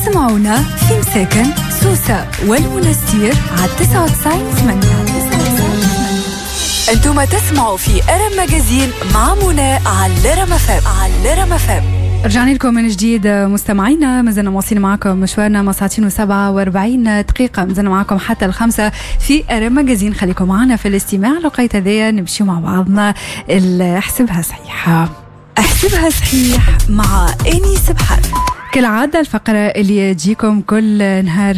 اسمعونا في مساكن سوسة والمنستير على 99.8. انتم تسمعوا في ارم Magazine مع منى على الرم FM، على الرم FM. رجعنا لكم من جديد مستمعينا، مازلنا مواصلين معكم مشوارنا مع ساعتين و47 دقيقة، مازلنا معكم حتى 5 في ارم Magazine. خليكم معنا في الاستماع لقيت هذايا، نمشي مع بعضنا احسبها صحيحة. احسبها صحيح مع انيس بحر. كالعادة الفقرة اللي تجيكم كل نهار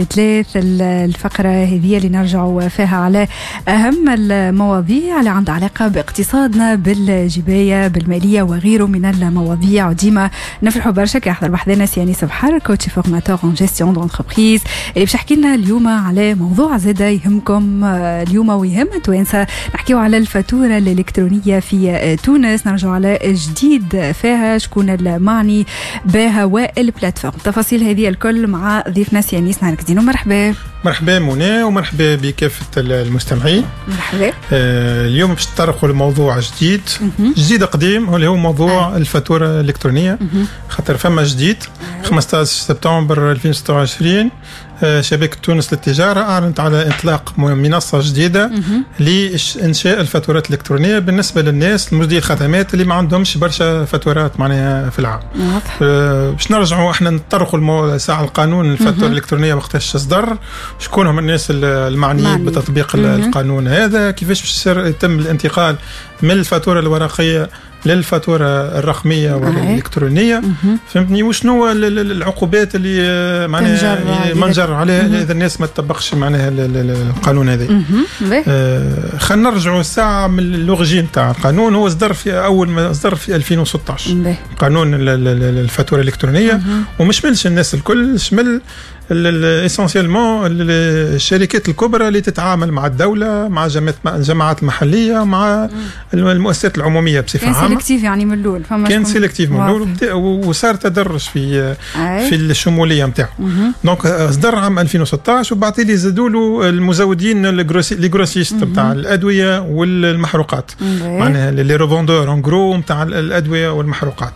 ثلاث، الفقرة هذه اللي نرجعوا فيها على أهم المواضيع اللي عندها علاقة باقتصادنا، بالجباية، بالمالية وغيره من المواضيع. وديما نفرحوا برشا كي يحضر بحذنا سي أنيس بحر، coach formateur en gestion d'entreprise، اللي باش يحكي لنا اليوم على موضوع زاد يهمكم اليوم ويهم التوانسة. نحكيو على الفاتورة الإلكترونية في تونس، نرجعوا على جديد فيها، شكون المعني بها وال plateforme. التفاصيل هذه الكل مع ضيفنا سي انيس. نهارك زين ومرحبا. مرحبا منى ومرحبا بكافة المستمعين. مرحبا. اليوم باش نتطرقوا لموضوع جديد، جديد قديم، اللي هو موضوع الفاتورة الإلكترونية، خاطر فما جديد. 15 سبتمبر 2026 شبكة تونس للتجارة أعلنت على إطلاق منصة جديدة لإنشاء الفاتورات الإلكترونية بالنسبة للناس المزدي الخدمات اللي ما عندهمش برشا فاتورات معناها في العام. باش نرجعوا احنا نطرقوا ساعة القانون الفاتورة الإلكترونية وقتاش صدر، شكون هم الناس المعنيين بتطبيق القانون هذا، كيفاش باش يتم الانتقال من الفاتورة الورقية للفاتوره الرقمية والالكترونيه، فهمتني؟ وشنو العقوبات اللي معناها منجر عليها اذا الناس ما تطبقش معناها القانون هذا. خلينا نرجعوا الساعة من l'origine تاع القانون. هو صدر في اول ما صدر في 2016 قانون الفاتورة الالكترونيه، ومش شملش الناس الكل، شمل essentiellement الشركات الكبرى اللي تتعامل مع الدوله، مع الجماعات المحليه، مع المؤسسات العمومية بصفة عامه. كان sélectif يعني من الاول. فما كان sélectif من الاول وصار تدرج في الشمولية نتاعو. donc صدر عام 2016 وبعد اللي زادوا له المزودين، les grossistes نتاع الادوية والمحروقات، معناها les revendeurs en gros نتاع الادوية والمحروقات.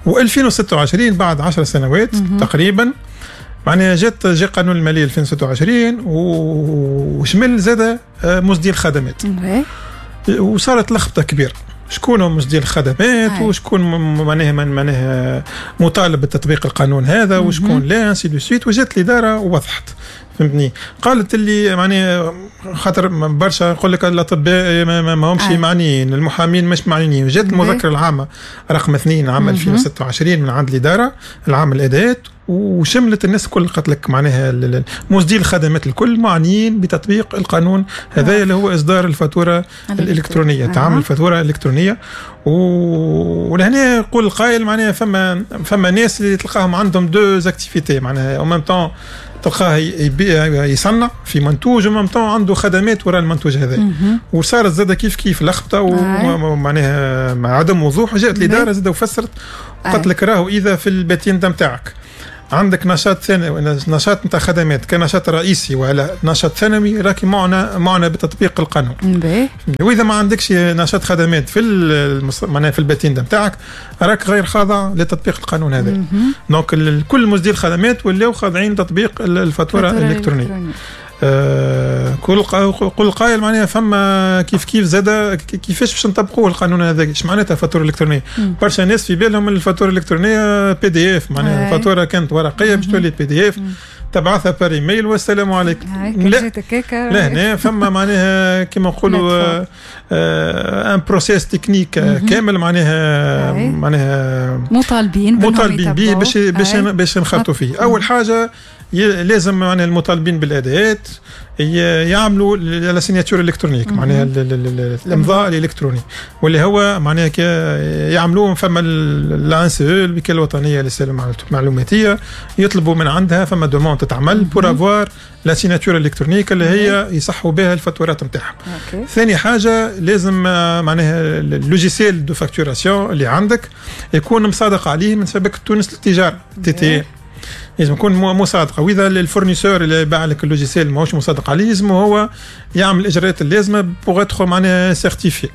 و2026 بعد 10 سنوات تقريبا معناها جاء قانون المالية 2026 وشمل زاد مزدي الخدمات، وصارت لخبطة كبيره، شكون هم مزدي الخدمات وشكون معناها مطالب بتطبيق القانون هذا وشكون لا، ainsi de suite. وجات الادارة ووضحت، فهمتني؟ قالت اللي معناها خاطر برشا يقول لك الاطباء ما همش معنيين، المحامين مش معنيين. جات المذكرة العامة رقم 2 عام 2026 من عند الادارة العامة للاداءات وشملت الناس الكل، قالت لك معناها مزدي الخدمات الكل معنيين بتطبيق القانون هذا اللي هو اصدار الفاتورة الالكترونيه، تعامل الفاتورة الالكترونيه. ولهنا يقول القائل معناها فما ناس اللي تلقاهم عندهم deux activités، معناها en même temps تلقاه يصنع في منتوج و même temps عنده خدمات وراء المنتوج هذا، وصارت زاد كيف كيف لخبطة ومعناها مع عدم وضوح. جاءت الادارة زاد وفسرت، قالت لك راهو اذا في ال patente نتاعك عندك نشاط ثانوي، نشاط نتاع خدمات كنشاط رئيسي ولا نشاط ثانوي، راكي معنى بتطبيق القانون. واذا ما عندكش نشاط خدمات معناها في ال patente نتاعك، راك غير خاضع لتطبيق القانون هذا. donc كل مزدي الخدمات ولاو خاضعين لتطبيق الفاتورة الالكترونيه. كل قائل معناها فما كيف كيف زاد كيفاش باش نطبقوه القانون هذا؟ ايش معناتها فاتورة الكترونيه؟ برشا ناس في بالهم الفاتورة الالكترونية PDF، معناها الفاتورة كانت ورقية باش تولي PDF، تبعثها par email والسلام عليكم. لا لا، هنا فما معناها كما نقولوا un processus technique كامل، معناها مطالبين مطالبين به باش نخرطوا فيه. اول حاجة لازم معناها المطالبين بالاداءات يعملوا la signature électronique، معناها الامضاء الالكتروني، واللي هو معناها يعملوه فما l'ANCE، الوكالة الوطنية للسلامة المعلوماتيه، يطلبوا من عندها، فما demande تتعمل pour avoir la signature électronique اللي هي يصحوا بها الفاتورات نتاعهم. ثاني حاجة لازم معناها ال logiciel de facturation اللي عندك يكون مصادق عليه من شبكة تونس للتجارة TTN. لازم يكون مصادقه. واذا ال fournisseur اللي باع لك ال logiciel ماهوش مصادق عليه، لازم هو يعمل الاجراءات اللازمة pour être معناها certifié.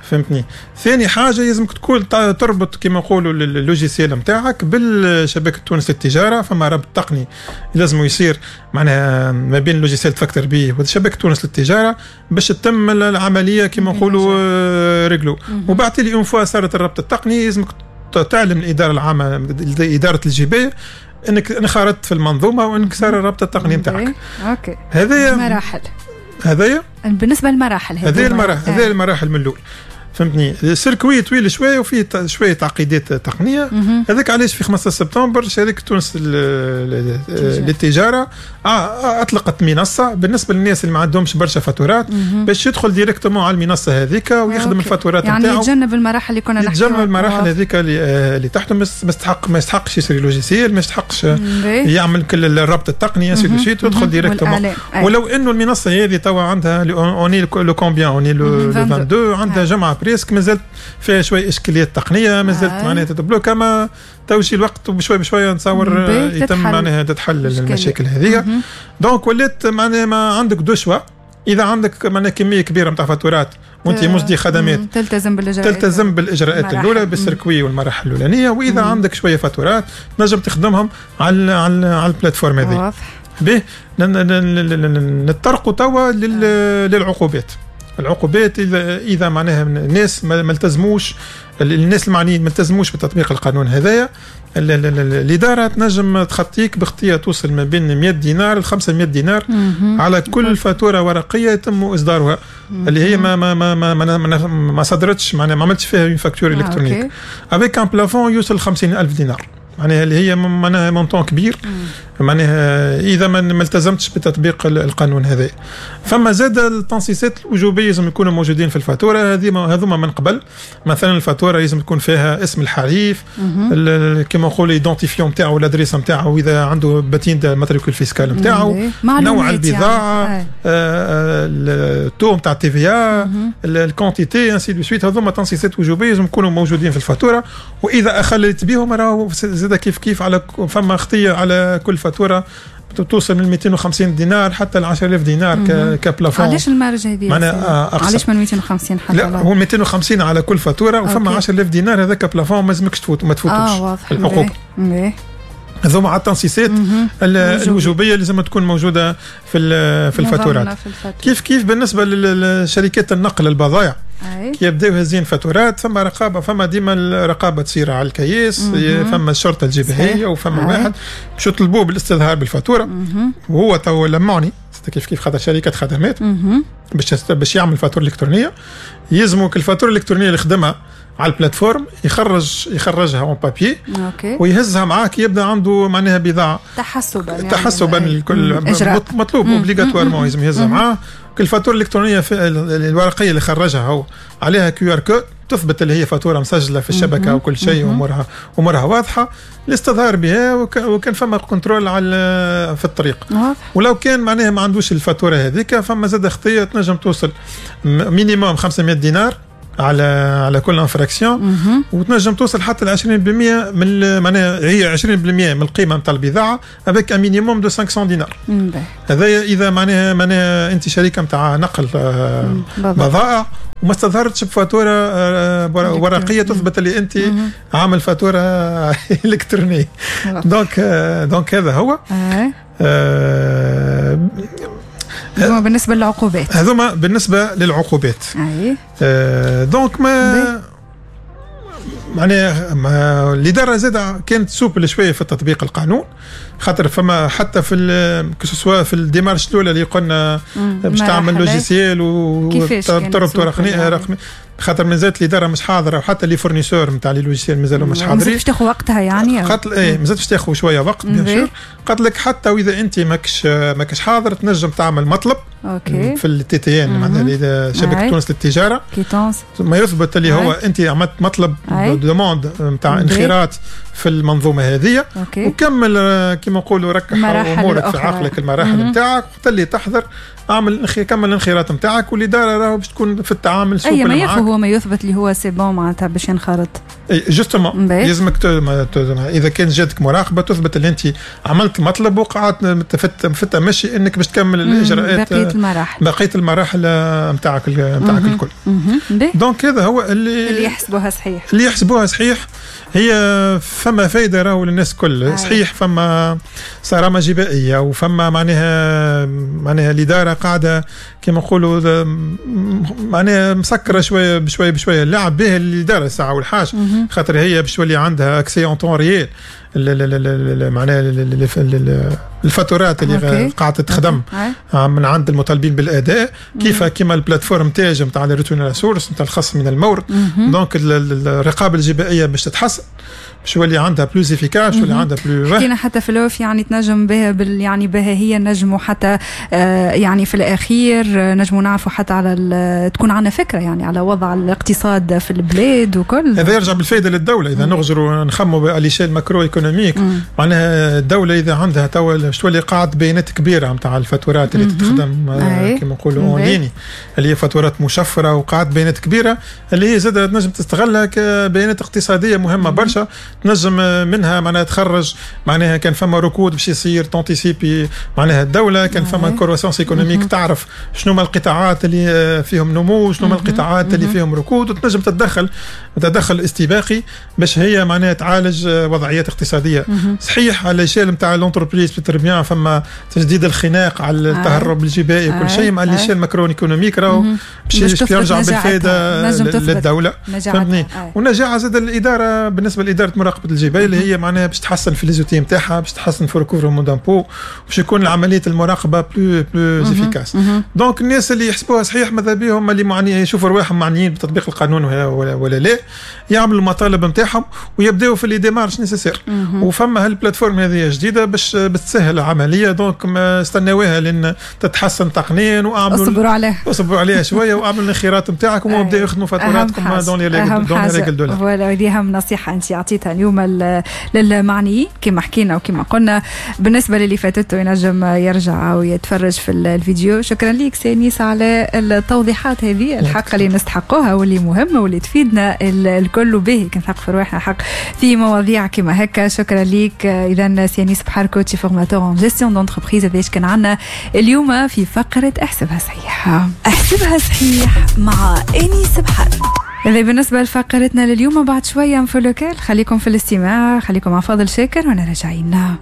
فهمتني؟ ثاني حاجة لازمك تكون تربط كما نقولوا ال logiciel نتاعك بالشبكه تونس للتجاره. فما ربط تقني لازم يصير معناها ما بين ال logiciel تفكتر به وشبكة تونس للتجارة باش تتم العملية كما نقولوا réglo. وبعد تالي une fois صارت الربط التقني، لازمك تعلم الادارة العامة، ادارة الجبايه، انك انخرطت في المنظومة وانك صار الربط التقني نتاعك. OK. هذايا مراحل. هذايا بالنسبة للمراحل. هذه المراحل، هذه المراحل من الاول. فهمتني؟ ال circuit طويل شوية وفيه شوية تعقيدات تقنيه. هذاك علاش في 15 سبتمبر شركة تونس للتجارة اطلقت منصة بالنسبة للناس اللي ما عندهمش برشا فاتورات، باش يدخل directement على المنصة هذيك ويخدم الفاتورات يعني نتاعو. يتجنب المراحل اللي كنا نحكي. يتجنب المراحل هذيك اللي تحته. ما يستحقش يشري logiciel، ما يستحقش يعمل كل الربط التقني ainsi de suite، يدخل directement. ولو انه المنصة هذه توا عندها، on est le combien؟ on est le 22، عندها جمعه presque، مازالت فيها شوية اشكاليات تقنيه، مازالت معناها تتبلوك. اما تو يجي الوقت وبشوي بشوية نتصور يتم معناها تتحل المشاكل هذه. donc ولات معناها ما عندك deux choix: اذا عندك معناها كمية كبيرة نتاع فاتورات وانت مسدي خدمات، تلتزم بالاجراءات. تلتزم بالاجراءات الاولى، بال circuit والمراحل الاولانيه. واذا عندك شوية فاتورات تنجم تخدمهم على ال plateforme هذه. به، نتطرقوا توا للعقوبات. العقوبات اذا معناها الناس ما التزموش، الناس المعنيين ما التزموش بتطبيق القانون هذايا، الادارة تنجم تخطيك بخطيه توصل ما بين 100 دينار ل 500 دينار على كل فاتورة ورقية يتم اصدارها، اللي هي ما صدرتش، معناها ما عملتش فيها facture électronique، avec un plafond يوصل 50000 دينار، معناها اللي هي معناها montant كبير. معناها اذا ما التزمتش بتطبيق القانون هذا. فما زاد التنصيصات الوجوبيه لازم يكونوا موجودين في الفاتورة هذه، هذوما من قبل. مثلا الفاتورة لازم تكون فيها اسم الحريف، كما نقول identifiant نتاعو، l'adresse نتاعو، اذا عنده patente matricule fiscal نتاعو، نوع البضاعه، يعني ال taux نتاع TVA، ال quantité، ainsi de suite. هذوما تنصيصات وجوبيه لازم يكونوا موجودين في الفاتوره، واذا اخلت بهم راهو زاد كيف كيف على فما خطيه على كل فاتورة توصل من 250 دينار حتى ل 10000 دينار ك plafond. علاش ال marge هذه؟ معناها علاش من 250 حتى؟ لا، هو 250 على كل فاتوره، وفما 10000 دينار هذاك plafond ما لازمكش تفوت، ما تفوتوش. واضح. العقوبة هذوما على التنصيصات الوجوبيه اللي لازم تكون موجودة في الفاتورات. كيف كيف بالنسبة لشركات النقل البضائع، كي يبداو هازين فاتورات فما رقابه، فما ديما الرقابة تصير على الكياس، فما الشرطة الجبائيه وفما واحد باش يطلبوه بالاستظهار بالفاتوره. وهو تو لمعني كيف كيف خاطر شركة خدمات باش يعمل فاتورة الكترونيه، يلزمك الفاتورة الالكترونية اللي خدمها على ال plateforme يخرجها en papier ويهزها معاه، يبدا عنده معناها بضاعه. تحسبا يعني. تحسبا الكل مطلوب obligatoirement لازم يهزها معاه. الفاتورة الالكترونية الورقية اللي خرجها هو عليها QR code تثبت اللي هي فاتورة مسجله في الشبكة وكل شيء، امورها واضحه، الاستظهار بها وكان فما contrôle على في الطريق. ولو كان معناها ما عندوش الفاتورة هذيك، فما زاد خطيه تنجم توصل minimum 500 دينار على كل infraction، وتنجم توصل حتى ل 20% من، معناها هي 20% من القيمة نتاع البضاعة avec un minimum de 500 دينار. هذا اذا معناها انت شركة نتاع نقل بضائع وما استظهرتش بفاتوره ورقية تثبت اللي انت عامل فاتورة الكترونيه. donc هذا هو. هذوما بالنسبة للعقوبات. هذوما بالنسبة للعقوبات. Donc ما معناها الادارة زاد كانت souple شوية في التطبيق القانون، خاطر فما حتى في que ce soit في ال démarche الاولى اللي قلنا باش تعمل logiciel وتربط رقمي، خاطر مازالت الادارة مش حاضره، وحتى les fournisseurs نتاع les logiciels مازالوا مش حاضرين. باش تاخذ وقتها يعني. قالت ايه، مازالت باش تاخذ شوية وقت bien sûr. قالت لك حتى واذا انت ماكش حاضر تنجم تعمل مطلب في ال TTN، معناها شبكة تونس للتجاره، quittance. ما يثبت اللي هو انت عملت مطلب demande نتاع انخراط في المنظومة هذه. وكمل كما نقولوا ركح امورك في عقلك المراحل نتاعك، وقت اللي تحضر اعمل كمل الانخراط نتاعك، والادارة راهو باش تكون في التعامل souple. اي ما ياخذ. هو ما يثبت اللي هو c'est bon معناتها باش ينخرط. justement لازمك اذا كان جاتك مراقبة تثبت اللي انت عملت المطلب وقعدت في التمشي انك باش تكمل الاجراءات، بقيه المراحل نتاعك الكل. donc هذا هو اللي اللي يحسبوها صحيح. اللي يحسبوها صحيح، هي فما فايده راهو للناس الكل. صحيح فما صرامه جبائيه وفما معناها الادارة قاعدة كما نقولوا معناها مسكره شوية بشوية بشويه، اللعب به الادارة الساعة والحاجه، خاطر هي باش تولي عندها accès en temps réel معناها الفاتورات اللي قاعدة تخدم من عند المطالبين بالاداء، كيف كيما ال plateforme تاج نتاع ال retenue à la source نتاع الخصم من المورد. donc الرقابة الجبائيه باش تتحسن، باش يولي عندها plus efficace، باش يولي عندها plus حكينا حتى في ال off، يعني تنجم بها بال يعني بها هي نجموا حتى يعني في الاخير نجموا نعرفوا حتى على تكون عندنا فكرة يعني على وضع الاقتصاد في البلاد وكل. هذا يرجع بالفائدة للدوله. اذا نغزروا نخموا à l'échelle macroéconomique، معناها الدولة اذا عندها توا باش تولي قاعدة بيانات كبيرة نتاع الفاتورات اللي تخدم كما نقولوا en ligne، اللي هي فاتورات مشفره، وقاعدة بيانات كبيرة اللي هي زادة تنجم تستغلها كبيانات اقتصادية مهمة برشا، تنجم منها معناها تخرج معناها كان فما ركود باش يصير t'anticiper معناها الدوله، كان فما croissance économique تعرف شنو ما القطاعات اللي فيهم نمو، شنو ما القطاعات اللي فيهم ركود، وتنجم تتدخل تدخل استباقي باش هي معناها تعالج وضعيات اقتصاديه. صحيح على l'échelle نتاع l'entreprise bien فما تشديد الخناق على التهرب الجبائي وكل شيء، مع l'échelle macroéconomique راهو باش يرجع بالفائدة للدوله، فهمتني؟ ونجاعه زاد الاداره، بالنسبة لادارة مراقبة الجبايه اللي هي معناها باش تحسن في les outils نتاعها، باش تحسن في recouvrement d'impôt، باش يكون عملية المراقبة plus efficace. donc الناس اللي يحسبوها صحيح، ماذا بهم اللي معني يشوفوا رواحهم معنيين بتطبيق القانون ولا لا، يعملوا المطالب نتاعهم ويبداو في les démarches nécessaires. وفما هال plateforme هذه جديدة باش بتسهل العمليه، donc ما استناوها لان تتحسن تقنيا واعملوا اصبروا عليها. اصبروا عليها شوية واعملوا الانخراط نتاعكم وابداو يخدموا فاتوراتكم dans les règles de l'art. voilà، هذه اهم نصيحة انت اعطيتها اليوم للمعنيين كما حكينا وكما قلنا. بالنسبة للي فاتته ينجم يرجع ويتفرج في الفيديو. شكرا لك سي أنيس على التوضيحات هذه الحق اللي نستحقوها واللي مهمة واللي تفيدنا الكل، وبه كي نثقفوا رواحنا حق في مواضيع كما هكا. شكرا لك اذا سي أنيس بحر، coach formateur en gestion d'entreprise. هذا كان عندنا اليوم في فقره احسبها صحيح. احسبها صحيح مع انيس بحر. هذا بالنسبة لفقرتنا لليوم. بعد شوية info locale، خليكم في الاستماع، خليكم مع فاضل شاكر وانا راجعين.